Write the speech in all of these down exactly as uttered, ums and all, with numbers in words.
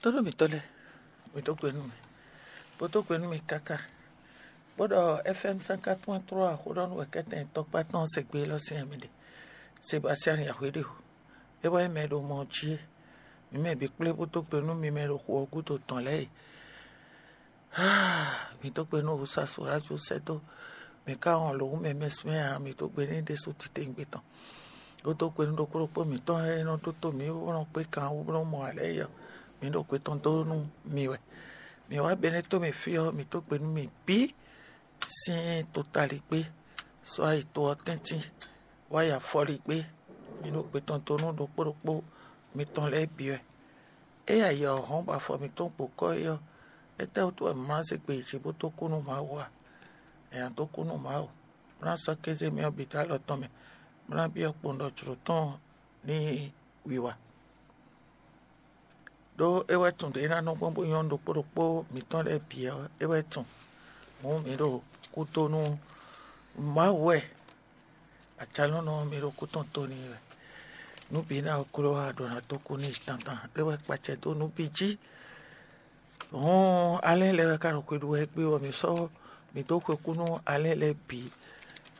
Tónú mǐtɔn lɛ́ɛ, mǐ dó gbe nú mi, bó dó gbe nú mi káká, bó ɖɔ F M cinquante point trois xó ɖɔ nú wɛ̌kɛ́tɛn tɔkpá tɔn se gbe élɔ́ sín ɛ mi ɖe. Sebastian Yahweh ɖe o, é wɛ nyí mɛ e ɖo mɔ jí é. Mǐ mɛ bǐ kplé bó dó gbe nú mi mɛ e ɖo xu ɔ́ gúdo tɔn lɛ́ɛ e. Mǐ dó gbe nú Wusasu Lajú sɛ́ dó mǐ ka wɔn lǒ mɛ mɛsmɛ ǎ, mǐ dó gbe n'i ɖésú titewungbe tɔn. Bó dó gbe nú ɖokpó ɖokpó mǐtɔn e nɔ ɖótó mǐ bó nɔ kpé kan wú bó nɔ mɔ ǎ lɛ́ɛ é ɔ́, mǐ ɖo gbe tɔn dó nú mi wɛ. Mǐ wá Benɛ́to mɛ fí ɔ́, mǐ dó gbe nú mi bǐ sín totaligbé, sɔ́ ayi to ɔ́ tɛ́ntin, wá yi afɔligbé, mǐ ɖo gbe tɔn dó nú ɖokpó ɖokpó mitɔn lɛ́ɛ bǐ wɛ. Ényí ayǐ ɔ́ hɔn bɔ afɔ mǐtɔn gbo kɔ́ é ɔ́, étɛ́wútu wɛ mǐ ma zé gbe yi jǐ bó dó kú nú Mawu a? È nǎ dó kú nú Mawu, bó ná sɔ́ kéze mì ɔ́ bǐ dó alɔ tɔn mɛ, bó ná byɔ́ kpowun ɖɔ jlǒ tɔn ní wiwa. Ɖó é wɛ tunwun ɖě é ná nɔ gbɔn bó nyɔ́ ɖokpó ɖokpó mǐtɔn lɛ́ɛ bǐ ɔ́, é wɛ tunwun. Hǔn mǐ ɖo kúdó nú Mawu wɛ, acalɔ́nɔ ɔ́, mǐ ɖo kú tɔn tó n'i wɛ. Nǔ bǐ ná ɔ́ kló wá ɖo ná dó kú n'i tantan, é wɛ kpacɛ dó nǔ bǐ jí. Hɔn alɛ́ lɛ́ɛ wɛ ka ɖo xwe ɖu wɛ gbé bɔ mǐ sɔ́ mǐ dó xwekú nú alɛ́ lɛ́ɛ bǐ.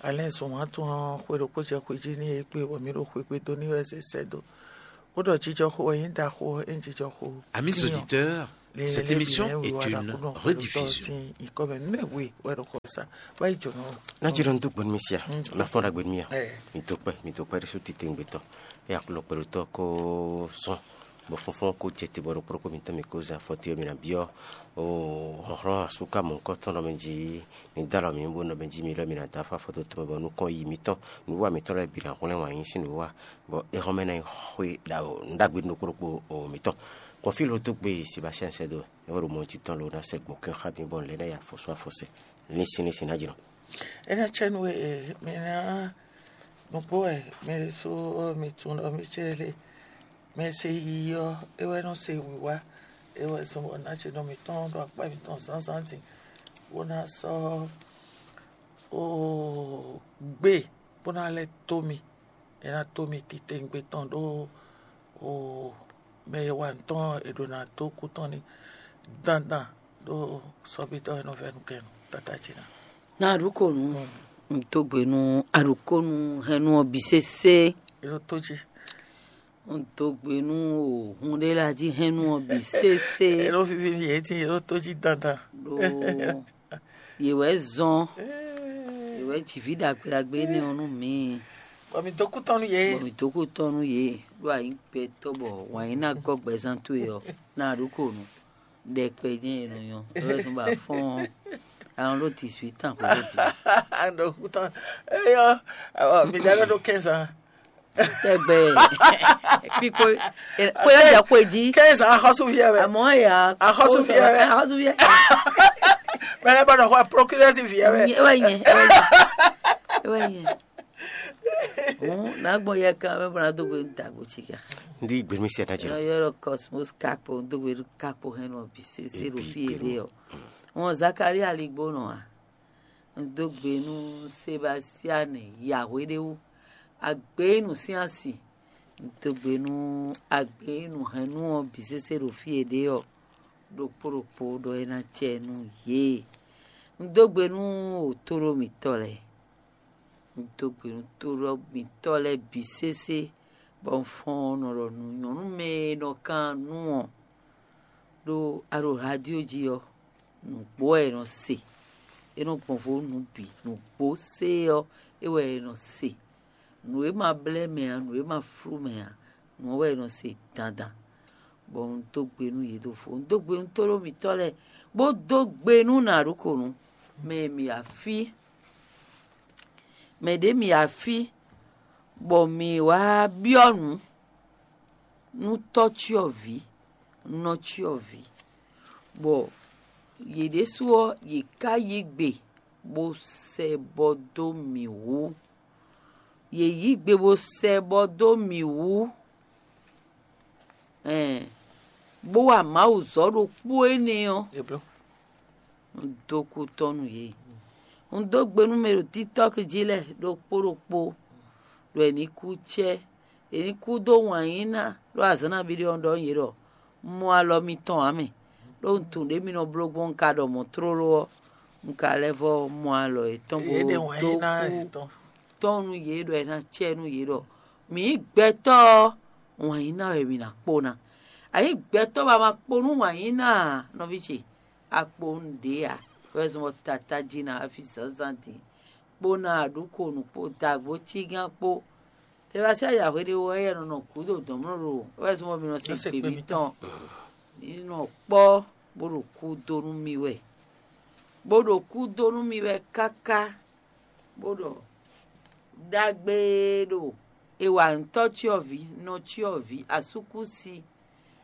Alɛ́ zɔn wǎn tɔn ɔ́, xwe ɖokpó jɛ xwe jí n'i é gbé bɔ mǐ ɖo xwegbe dó n'i wɛ zɛ sɛ́ dó. Bó ɖɔ jijɔxo wɛ nyí ɖaxó ɔ́, é nyí jijɔxo. Amis auditeurs, cette émission est une rediffusion. Sin ikɔ mɛ mɛ we wɛ ɖo xɔ sa. Wá yi jɔnɔ. Ná jí ɖɔ nú dó gbɔn mì sia. Mm. Ná fɔ́n ɖagbe nú mì a. Ɛ. Mi dó kpɛ, mi dó kpɛ ɖésú titewungbe tɔn. É aklɔ kpɛɖotɔ́ kó sɔn. Bɔ fɔnfɔn kó jɛ te bɔ ɖokpó ɖokpó mitɔn mi kó zɛ afɔ te mi ná byɔ́. O hlɔ̌nhlɔ́n asúka mɔ̌hunkɔtɔn ɖɔ mɛ jí mi dó alɔ mǐ bó nɔ mɛ jí mi lɔ mi ná dó afɔ afɔtɔtɔ mɛ bɔ nukɔn yi mitɔn nǔwa mitɔn lɛ́ɛ bǐ ná hwlɛ́n wǎn yí sín nǔwa, bɔ é hɔn mɛ ná nyí xwé ɖagbe nú ɖokpó ɖokpó mitɔn. Kɔn fí lo dó gbe Sebastian sɛ́ dó, é wɛ ɖo mɔ jí tɔn lo ná sɛ gbɔn kɛn xá mi bɔ un lɛ́ ná yi afɔsú afɔsɛ. Ní sín ní sín ná jlɔ́n. É ná cɛ nú we e mi ná nukpó wɛ mi ɖésú mi tunwun ɖɔ mì cé lé. Mɛ e se yiyi ɔ́, é wɛ nɔ se wǐwá, é wɛ zɔn bɔ ná ce nɔ mǐtɔn ɖo akpá mǐtɔn zǎnzǎn din, bó ná sɔ́ gbé, bó ná lɛ́ dó mì, é ná dó mì titewungbe tɔn ɖó mɛ e wa nǔ tɔn è ɖǒ ná dó kú tɔn ní dandan ɖó sɔ́bítɔ́ e nɔ vɛ́ nukɛn nú tata ce ná. Na aɖukonu, un dó gbe nú aɖukonu hɛn nú ɔ bǐ sésé. È nɔ tó jí. Un dó gbe nú o hun ɖé la jí hɛn nú ɔ bǐ sésé. È nɔ vivi n'i yě dín, è nɔ tó jí dandan. Ɖó yě wɛ zɔn, yě wɛ jǐví ɖagbe ɖagbe énɛ́ ɔ́ nú mǐ. Bɔ mi dó kú tɔn nú yě. Bɔ mi dó kú tɔn nú yě, ɖó a nyǐ gbɛtɔ́ bɔ wǎn yí ná gɔ́ gbɛzán towe ɔ́, na aɖukonu. Ɖɛkpɛ jɛ́n è nɔ nyɔ́, é wɛ zɔ́n bɔ a fɔ́n ɔ́, a nɔ ɖó dix-huit ans xwé ɖé bǐ. Ɖo kútɔn eyɔ mi ɖa ɖɔ ɖo quinze ans. Tɛgbɛ kpikpo kpóyɔ jɛ xwé jí. Quinze ans, axɔ́súviɛ wɛ. Àmọ́ ya Axɔ́súviɛ wɛ. Axɔ́súviɛ. Mɛ lɛ bɔ ɖɔ xɔ procureur si viɛ wɛ. Ewɛ nyɛ, ewɛ nyɛ, ewɛ nyɛ. Hǔn nǎ gbɔn yɛ kan mɛ bɔ ná dó gbe dagbo cí kan. Ndi gbemi sɛ na jira. Yɔrɔ Cosmos Kakpo dó gbe Kakpo hɛn nɔ bi sese ɖo Ebi fi gbemi. Ede ɔ. Wọn Zakaria ligbo nɔ a. Un dó gbe nú Sebastian Yahweh ɖé wú. Agbe nú sín asi. Un dó gbe nú agbe nú hɛn nú ɔ bi sese ɖo fi ede ɔ. Ɖokpó ɖokpó ɖɔ é ná cɛ nú yě. Un dó gbe nú òtóɖó mǐtɔn lɛ́ɛ. Un dó gbe nú tóɖó mǐtɔn lɛ́ɛ bǐ sésé, bɔ un fɔ́n ɔ́ nɔ ɖɔ nú nyɔ̌nu mɛ e nɔ kan nú ɔ́, ɖó a ɖo radio jí ɔ́, nǔgbó wɛ è nɔ se. É nɔ gbɔn vo nǔ bǐ, nǔgbó sé ɔ́, é wɛ è nɔ se. Nǔ e ma blɛ́ mɛ ǎ, nǔ e ma flú mɛ ǎ, nǔ ɔ́ wɛ è nɔ se dandan. Bɔ un dó gbe nú yě ɖo vo. Un dó gbe nú tóɖó mǐtɔn lɛ́ɛ, bó dó gbe nú nǎɖukonú, mɛ e mǐ wá fí. Mɛ ɖě mǐ wá fí, bɔ mǐ wá byɔ́ nǔ nú tɔ́cyɔvǐ, nɔcyɔvǐ, bɔ yě ɖésú ɔ́, yě ká yí gbe bó sɛ bɔ dó mǐ wú. Yě yí gbe bó sɛ bɔ dó mǐ wú, ɛn, bó wa Mawu zɔ́ ɖokpó énɛ́ ɔ́, Eblo. Un dó kú tɔ́ nú yě. Un dó gbe nú mɛ ɖo TikTɔ́k jí lɛ́ɛ ɖokpó ɖokpó, ɖɔ è ní kú cɛ́, è ní kú dó wǎn yí ná, ɖó azǎn nabí ɖé ɔ́ ɖɔ nú yě ɖɔ mɔ alɔ mitɔn ǎ mɛ. Ɖó un tunwun ɖě mi nɔ bló gbɔn un ka ɖɔ mɔ̌ tlóló ɔ́, un ka lɛ́ vɔ́ mɔ alɔ yětɔn bó dó kú tɔ́n nú yě ɖɔ è nǎ cɛ nú yě ɖɔ mǐ nyí gbɛtɔ́ ɔ́, wǎn yí ná wɛ mǐ ná kpó ná. A nyǐ gbɛtɔ́ bɔ a ma kpó nú wǎn yí ná ǎ, nɔví ce, a kpó nú ɖě ǎ. Wɛ zɔn bɔ tata jí ná wá fí zǎnzǎn din kpó ná aɖǔkonu kpó dagbo cígán kpó. Tɛbasí ayǎhwe ɖé wɛ yɛ nɔ nɔ gǔdo dɔ̌nmlɔ́ ɖo wɛ zɔn bɔ mi nɔ se gbe mitɔn. Mi nɔ kpɔ́ bó ɖo kú dó nú mi wɛ, bó ɖo kú dó nú mi wɛ káká, bó ɖɔ ɖagbe ɖo è wa ntɔ́ cyɔ́vǐ, nɔ cyɔ́vǐ, asúkúsi,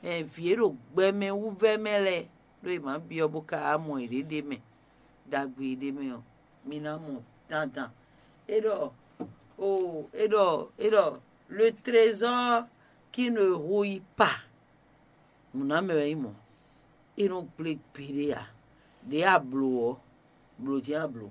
vǐ e ɖo gbɛmɛ wú vɛ́ mɛ lɛ́ɛ, ɖó è mǎ byɔ́ bó ka wá mɔ yěɖée ɖ'é mɛ, ɖagbe e ɖ'é mɛ ɔ́, mi ná mɔ dandan. É ɖɔ o é ɖɔ é ɖɔ le trésor qui ne rouille pas. Nǔnámɛ wɛ nyí mɔ̌. É nɔ gblé gbeɖé ǎ. Ɖě a blǒ ɔ́, blǒ jɛ́n a blǒ.